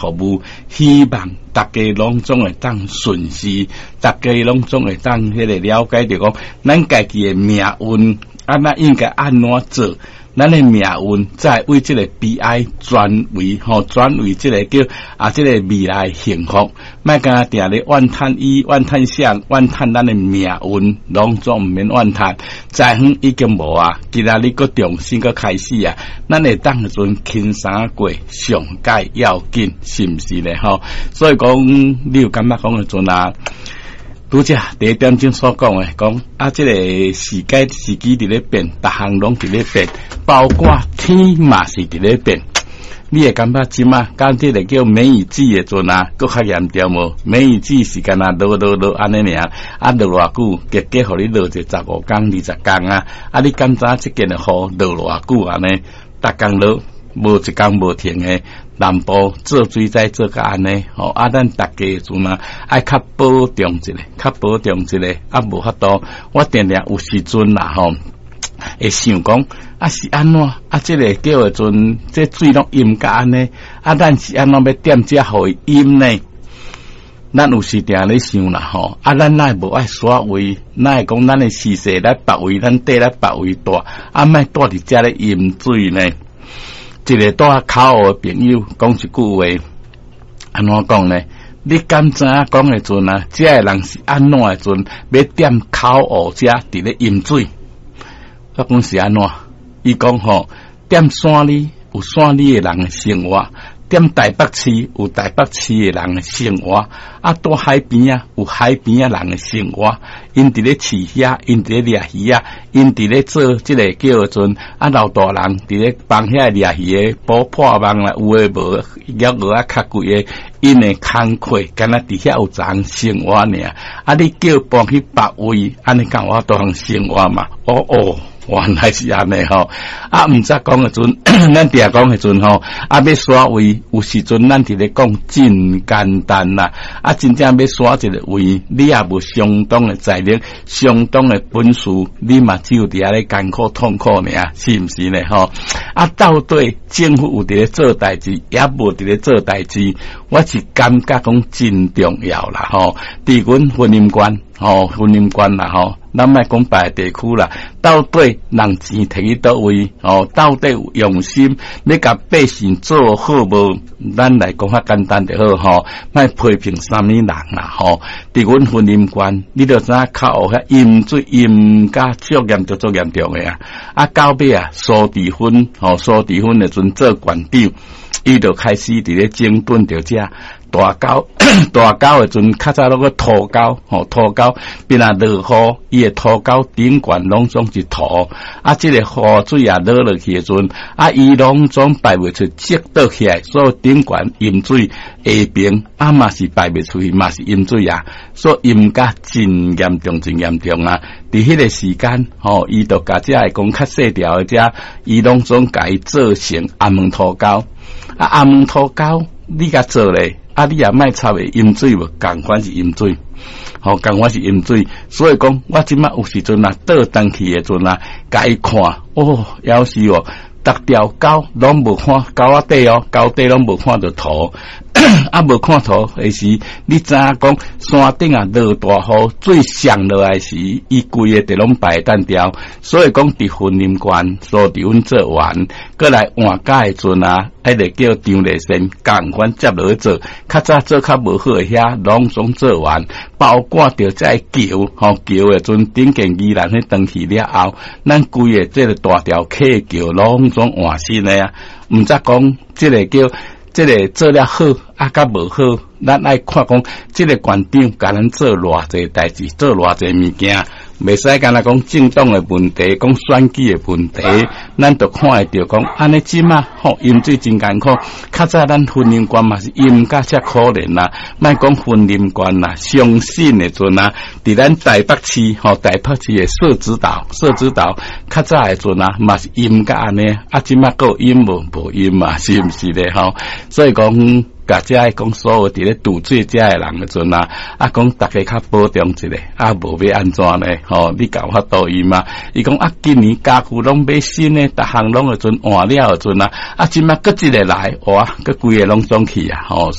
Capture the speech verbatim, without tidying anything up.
服務，希望大家攏總會當順時，大家攏總會當彼個了解著講，咱家己的命運，啊，咱應該按怎做？咱的命運才會為這個悲哀轉為吼，轉為這個叫啊，這個未來幸福。莫干焦定咧怨嘆伊，怨嘆誰，怨嘆咱的命運，攏總毋免怨嘆。災遠已經無啊，今仔日閣重新閣開始啊，咱會當時陣輕鬆過，上蓋要緊，是毋是咧？吼，所以講，你有感覺講的陣啊？拄才第一點鐘所講的，講啊，這個時間時機佇咧變，逐項攏佇咧變，包括天嘛是佇咧變。你會感覺這馬敢這個叫梅雨季的陣啊，閣較嚴重無？梅雨季是干焦落落落按呢爾，啊落偌久，結果予你落一十五工、二十工啊！啊，你敢知影這件的雨落偌久按呢？逐工落，無一工無停的。南部做水災做甲按呢，吼啊！咱逐家陣啊，愛較保重一下，較保重一下，啊，無法度，我定定有時陣啦，吼，會想講啊是按怎？啊，這個叫的陣，這水攏淹甲按呢？啊，咱是按怎欲踮遮予伊淹呢？咱有時定咧想啦，吼啊，咱哪會無愛徙位？哪會講咱的時勢咧別位，咱地咧別位蹛，啊，莫蹛佇遮咧淹水呢？一個蹛口湖的朋友講一句話，按怎講呢？你敢知影講的陣啊？這个人是按怎的陣，欲踮口湖遮佇咧淹水？我講是按怎？伊講吼，踮山裡有山裡的人的生活，踮台北市有台北市的人的生活，啊，蹛海邊仔有海邊仔人的生活。𪜶佇咧飼蝦，𪜶佇咧掠魚仔，𪜶佇咧做這個叫做啊老大人佇咧幫遐掠魚的補破網啦，有的無魚蚵仔較貴的，𪜶的工課敢若佇遐有一項生活爾。啊，你叫搬去別位，按呢敢有法度通生活嘛？哦哦。原來是按呢吼，啊，毋知講的陣，咱定講的陣吼，啊，欲徙位，有時陣咱佇咧講真簡單啦，啊，真正欲徙一個位，你也無相當的才能，相當的本事，你嘛只有佇遐咧艱苦痛苦爾，是毋是呢？吼，啊，到底政府有佇咧做代誌，抑無佇咧做代誌，我是感覺講真重要啦，吼，佇阮雲林縣，吼，雲林縣啦，吼。咱莫講別个地區啦，到底人錢提去佗位？哦，到底有用心欲共百姓做好無？咱來講較簡單就好吼，莫批評啥物人啦吼。佇阮雲林縣，你著知影口湖遐淹水淹甲足嚴重、足嚴重的啊！啊，到尾啊，蘇治芬吼，蘇治芬的陣做縣長，伊就開始佇咧整頓著遮。大溝大溝的陣，較早攏閣塗溝吼，塗溝變啊落雨，伊的塗溝頂懸攏總是土，啊，這個雨水啊落落去的陣，啊，伊攏總排袂出，積倒起來，所以頂懸淹水，下爿啊嘛是排袂出去，嘛是淹水啊，所以淹甲真嚴重，真嚴重啊！佇彼個時間，吼，伊就共遮個講較細條的遮，伊攏總共伊做成頷毛塗溝，啊，頷毛塗溝，你共做咧？啊！你也莫插會淹水無？仝款是淹水，吼，仝款是淹水。所以講，我這馬有時陣啊，倒轉去的陣啊，共伊看，哦，枵死哦，逐條溝攏無看溝仔底哦，溝底攏無看著土，啊，無看土的時，你知影講山頂啊落大雨，水上落來時，伊規个地攏排單掉。所以講，佇雲林縣，蘇治芬做完，閣來換屆的陣啊，彼個叫張麗善，仝款接落去做，較早做較無好的遐，攏總做完，包括著這橋，吼橋的陣頂間宜蘭彼斷去了後，咱規个這個大條溪橋攏總換新的啊，毋則講這個叫這個做了好，啊，佮無好，咱愛看講這個縣長共咱做偌濟代誌，做偌濟物件，袂使干焦講政黨的問題，講選舉的問題，咱就看會著講，按呢這馬吼淹水真艱苦，較早咱雲林縣嘛是淹甲遮可憐啦，莫講雲林縣啦，相信的陣啊，佇咱台北市吼，台北市的社子島，社子島較早的陣啊，嘛是淹甲按呢，啊，這馬閣有淹無？無淹嘛，是毋是咧吼？所以講。共遮的講所有佇咧渡水遮的人的陣啊，啊講逐家較保重一下，啊無欲按怎呢？吼，你敢有法度伊嗎？伊講啊，今年家具攏買新的，逐項攏的陣換了的陣啊，啊這馬閣一个來，哇，閣規个攏總去啊，吼。